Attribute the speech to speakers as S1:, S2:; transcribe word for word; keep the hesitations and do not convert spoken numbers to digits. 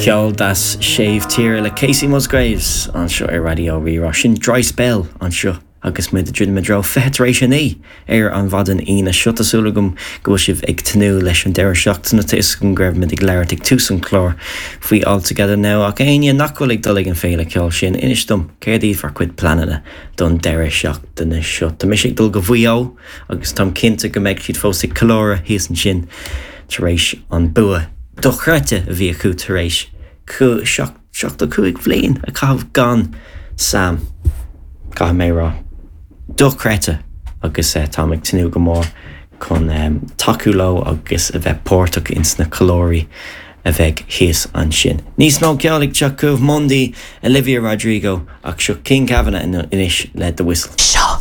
S1: Ceol deas séimh tíre le Kacey Musgraves anseo ar Raidió Rí-Rá sin Dry Spell anseo agus muid ag druidim i dtreo fiche tar éis a naoi ar an mhaidin Aoine seo tá súil agam go bhfuil sibh ag tnúth leis an deireadh seachtaine tá fhios agam go raibh muid ag labhairt ag tús an chláir faoi All Together Now ach éinne nach bhfuil ag dul ag an féile ceoil sin inis dom céard iad bhur gcuid pleananna don deireadh seachtaine seo Tá mise ag dul go Maigh Eo agus táim cinnte go mbeidh siad fós ag ceiliúradh thíos ansin tar éis an bua dochreidte a bhí acu tar éis seachtó cúig bhliain a chaitheamh gan Sam Caithfidh mé rá. Dochreidte agus uh, táim ag tnúth go mór chun um, tacú leo agus a bheith páirteach ins na ceiliúrthaí a bheidh thíos ansin. Níos mó ceoil ag teacht chugaibh Mundy Olivia Rodrigo ach seo King Kavanagh anois le The Whistle.
S2: Seo